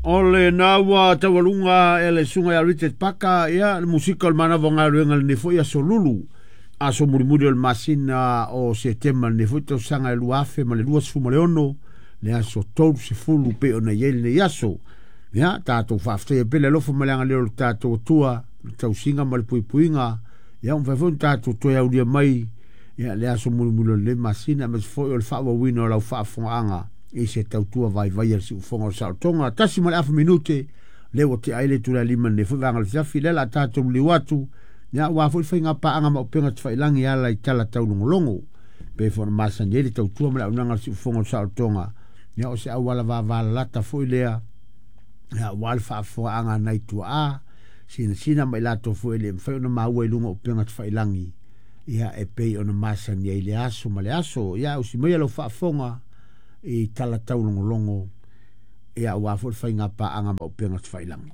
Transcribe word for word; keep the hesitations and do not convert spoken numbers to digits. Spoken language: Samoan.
O lena ua taualuga e le susuga ia Richard Paka ia le musika o le manava o galuega lenei foi aso lulu, aso mulimuli o le masina o Setema lenei foi tausaga e lua afe ma le lua sefulu ma le ono, le aso tolu sefulu pei ona i ai lenei aso. Ia tatou faafetaia pea le alofa ma le agalelei o le tatou Atua, le tausiga ma le puipuiga, ia ua mafai foi ona tatou toe aulia mai ia le aso mulimuli o lenei masina, aemaise foi o le faaauauina o lau faafofogaaga i se tautua vaivai a le siufofoga o le saolotoga. Tasi ma le afa minute lea ua tea ai le itula e lima i lenei foi vaega o le afiafi, lea o le a tatou liliu atu ia aua foi le faiga paaga ma upega tafailagi e ala i tala taulogologo pei foi ona masani ai le tautua ma le auaunaga a le siufofoga o le saolotoga. Ia o se auala vavalalata foi lea ia aua le faafofogaaga a nai tuaa sinasina ma i latou foi e le mafai ona maua i luga o upega tafailagi ia e pei ona masani ai le aso ma le aso. Ia ausi maia lau faafofoga i tala taulogologo ia aua foi le faiga paaga ma upega tafailagi.